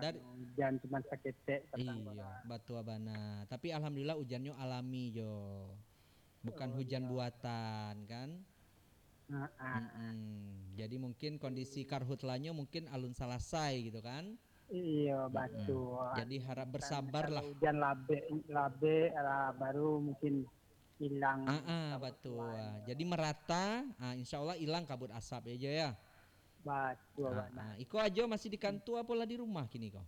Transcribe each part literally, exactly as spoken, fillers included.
Dari Ujan cuma saketek patang Iyo, orang. Batua bana. Tapi alhamdulillah ujannyo alami jo. Bukan Oh, hujan iyo. buatan, kan? Heeh. Mm-mm. Jadi mungkin kondisi karhutlanyo mungkin alun salasai gitu, kan? Iyo, Mm-mm. batua. Jadi harap Kan bersabarlah. kalau ujan labek, labek lah, baru mungkin hilang Ah, ah, kabut batua. asapnyo. Jadi merata, ah, insya Allah hilang kabut asap ya, Jo, ya. Batua Ah, bana. ah. Iko Ajo masih di kantua apo lah di rumah kini ko?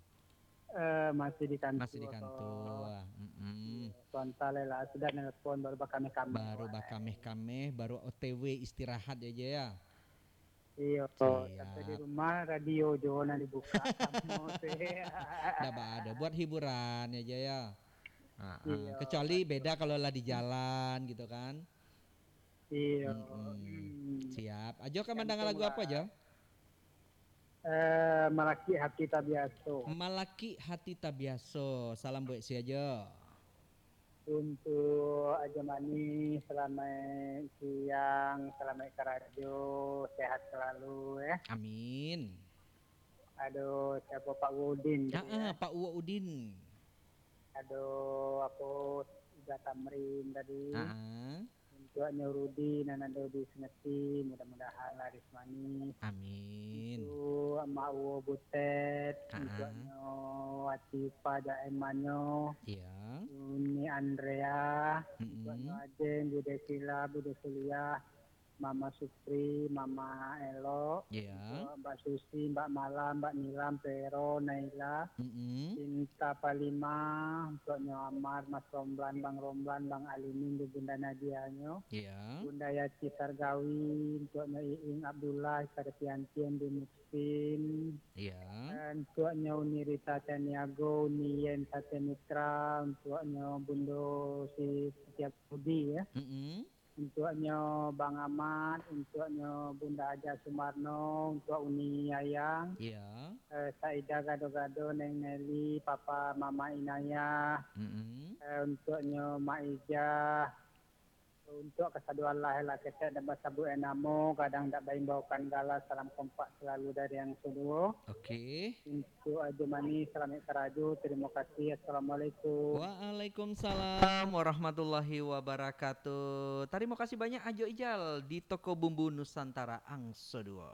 Eh, masih di kantua. Masih di kantua. Mm-mm. Iyo, sontak lai lah, sudah nelpon, baru bakameh-kameh Baru awak. bakameh-kameh, baru O T W istirahat ya, Jo, ya. Iyo, Siap. sampai di rumah radio jo nan dibuka samo tu. Ndak ba-, ado buat hiburan ya, Jo, ya. Ah, ah. Iyo, Kecuali betul. beda kalau lah di jalan gitu, kan. Iyo. Mm-mm. Hmm. Siap. Ajo kan mandanga Gantung lagu apo, lah. Jo? Eh, Malakik Hati Tabiaso. Malakik Hati Tabiaso. Salam buat sia, Jo? Untuk Ajo Manih, salamaik siang, salamaik karajo, sehat selalu, eh. Amin. Ado siapo, Pak Uwa Udin tadi, Ah, ah, eh? Pak Uwa Udin. Ado apo, Iga Tamrin tadi. Ah, ah. Untuaknyo Rudi nan ado di Sengeti, mudah-mudahan laris manis. Amin. Untuak Mak Uwo Butet, Ah, ah. untuaknyo Atifa jo Emanyo, Iya. Uni Andrea, Mm-mm. untuaknyo Ajeng, Bude Sila, Bude Suliah, Mama Supri, Mama Elok, Iya. untuak Mbak Susi, Mbak Malam, Mbak Nilam, Pero, Naila, Mm-mm. Cinta Palima, untuaknyo Amar, Mas Romlan, Bang Romlan, Bang Alimin, di Bunda Nadianyo. Iya. Bunda Yati Sargawi, untuaknyo Iing Abdullah, Sarpiantian di Muksin. Iya. Eh, untuaknyo Uni Rita Caniago, Uni Yen Satya Mitra, untuaknyo Bundo si Setia Budi, ya. Mm-mm. Untuaknyo Bang Amat, untuaknyo Bunda Haja Sumarno, untuak Uni Ayang, Iya. eh, Saida Gado-Gado, Neng Nelly, Papa Mama Inayah, Mm-mm. eh, untuaknyo Mak Ijah, untuak kasadoan lah, lah ketek dak basabuik namo, kadang dak baimbaukan gala, salam kompak selalu dari Angso Duo. Oke. Untuak Ajo Manih, salamaik karajo. Tarimo kasih. Assalamualaikum. Waalaikumsalam warahmatullahi wabarakatuh. Tarimo kasih banyak Ajo Ijal di Toko Bumbu Nusantara Angso Duo.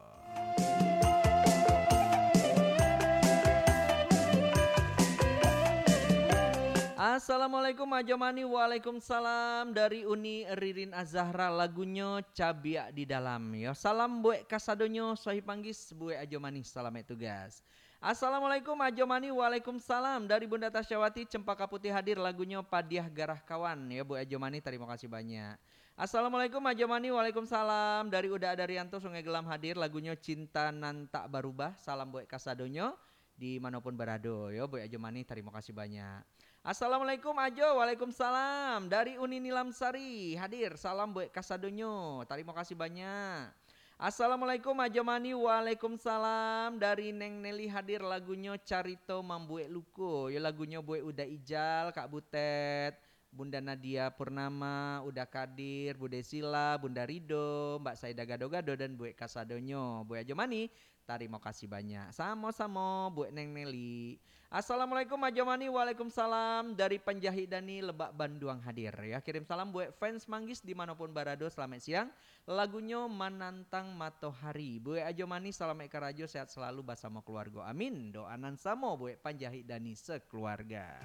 Assalamualaikum Ajo Manih. Waalaikumsalam. Dari Uni Ririn Azahra, lagunyo Cabiak di Dalam. Yo, salam buek kasadonyo, Sohib Manggis, buek Ajo Manih, salamaik tugas. Assalamualaikum Ajo Manih. Waalaikumsalam. Dari Bunda Tasyawati, Cempaka Putih hadir, lagunyo Padiah Garah Kawan. Ya, buek Ajo Manih, tarimo kasih banyak. Assalamualaikum Ajo Manih. Waalaikumsalam. Dari Uda Adarianto, Sungai Gelam hadir, lagunyo Cinta Nan Tak Barubah. Salam buek kasadonyo, di manopun barado. Yo, buek Ajo Manih, tarimo kasih banyak. Assalamualaikum Ajo. Waalaikumsalam. Dari Uni Nilam Sari hadir, salam buek kasadonyo. Tarimo kasih banyak. Assalamualaikum Ajo Manih. Waalaikumsalam. Dari Neng Nelly hadir, lagunyo Carito Mambuek Luko. Yo, lagunyo buek Uda Ijal, Kak Butet, Bunda Nadia Purnama, Uda Kadir, Bude Sila, Bunda Rido, Mbak Saida Gado-Gado, dan buek kasadonyo. Buek Ajo Manih, tarimo kasih banyak. Samo-samo, buek Neng Nelly. Assalamualaikum Ajo Manih. Waalaikumsalam. Dari Panjahik Dani, Lebak Banduang hadir. Ya, kirim salam buek fans Manggis di manopun barado. Salamaik siang. Lagunyo Manantang Matohari. Buek Ajo Manih, salamaik karajo, sehat selalu basamo keluargo. Amin. Doa nan samo buek Panjahik Dani sekeluarga.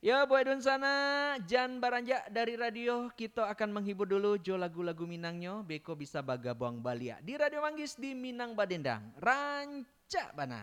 Yo, buek dunsanak, jan baranjak dari radio, kito akan menghibur dulu jo lagu-lagu Minangnyo, beko bisa bagabuang baliak di Radio Manggis di Minang Badendang. Rancak bana.